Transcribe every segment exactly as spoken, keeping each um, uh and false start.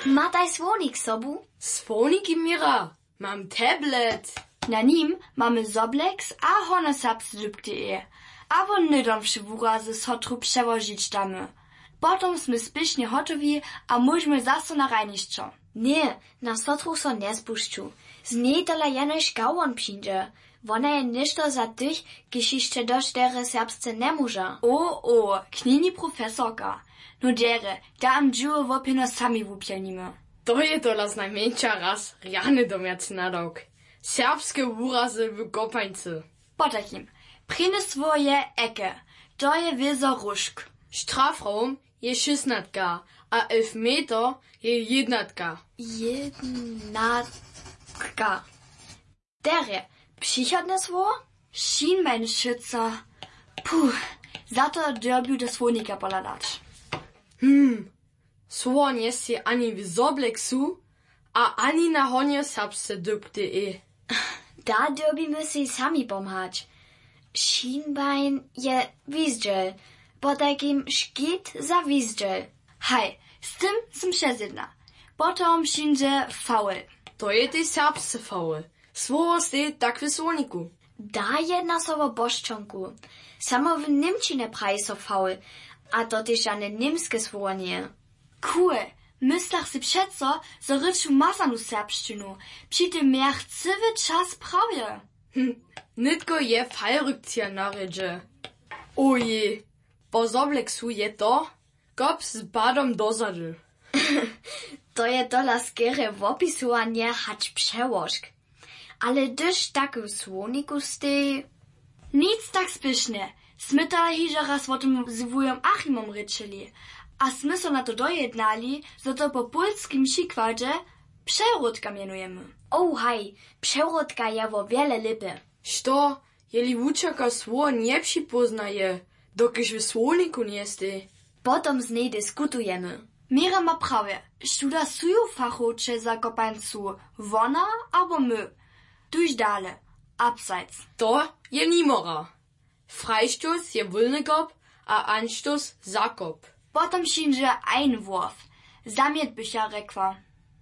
Mataj słownik sobu. Słowniki měra, mam tablet. Na nim mamy zobleks a hono serbsce dypk.de. Abo hnydom wše wurazy sotru přełožić damy. Potom smy spěšnje hotowi a móžemy zaso na hrajnišćo. Ně, na sotru so njespušću. Z njej tola jenož gałon přińdźe. Wona je něšto za tych, kiž hišće došć derje serbsce njemóža. O o, knjeni profesorka. No derje, da am dźěło wopjeno sami wupjelnimy. To je tola znajmjeńša raz rjany domjacy nadawk. Serbske wurazy w kopańcy. Potajkim, prěnje słowo je eke. To je wězo róžk. Strafraum je šěsnatka a elfmeter je jědnatka. Jědnatka. Derje, přichodne słowo? Schienbein, šytsa. Puh, za to dyrbju do słownika pohladać. Hm, słowo njesteji ani w zobleksu a ani na honje serbsce dypk.de. Da dyrbimy sej sami pomhać. Schienbein je wizdźel, potajkim škit za wizdźel. Haj, z tym sym přezjedna. Potom přińdźe faul. To je tej serbsce faul. Słowo steji tak w słowniku. Da jedna so wo pošćonku. Samo w němčinje praji so faul, a to tež žane němske słowo njeje. Cool. Myslach sej přeco, zo rěču mazanu serbšćinu. Při tym mějach cyły čas prawje. Hm, nětko je fallrückzieher na rědźe. Ojej, po zobleksu je to kop z padom dozady. To je tola skerje wopisowanje hač přełožk. Ale hdyž tak w słowniku steji. Nic tak spěšnje. Smy tola hižo raz wo tym z wujom Achimom rěčeli. A smy so na to dojednali, zo to po pólskim přikładźe přewrótka mjenujemy. O haj, přewrótka je wo wjele lěpje. Što, jeli wučerka słowo njepřipóznaje, dokelž w słowniku njesteji? Potom z njej diskutujemy. Měra ma prawje, študa su ju fachowče za kopańcu, wona abo my. Tuž dale, abseits. To je nimora. Freistoß je wólny kop a Anstoß zakop. Potom přińdźe Einwurf. Zamjet bych ja rjekła.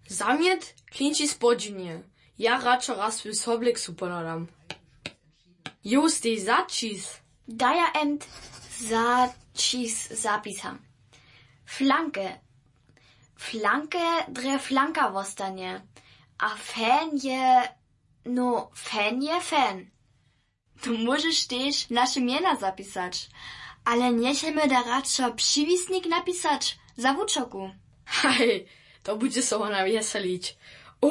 Zamjet klinči spodźiwnje. Ja radšo raz w sobleksu pohladam. Jo, steji zaćis. Daja emt zaćis zapisam. Flanke. Flanke drje flanka wostanje. A fan je, no, fan je fan. To móžeš tež naše mjena zapisać. Ale njechajmy da radšo přiwisnik napisać za wučerku. Haj, to budźe so wona wjeselić. O,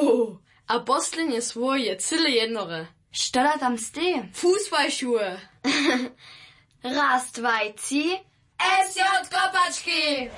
a poslednje słowo je cyle jednore. Što da tam steji? Fußballschuhe. Raz, dwaj, tři. S J kopački!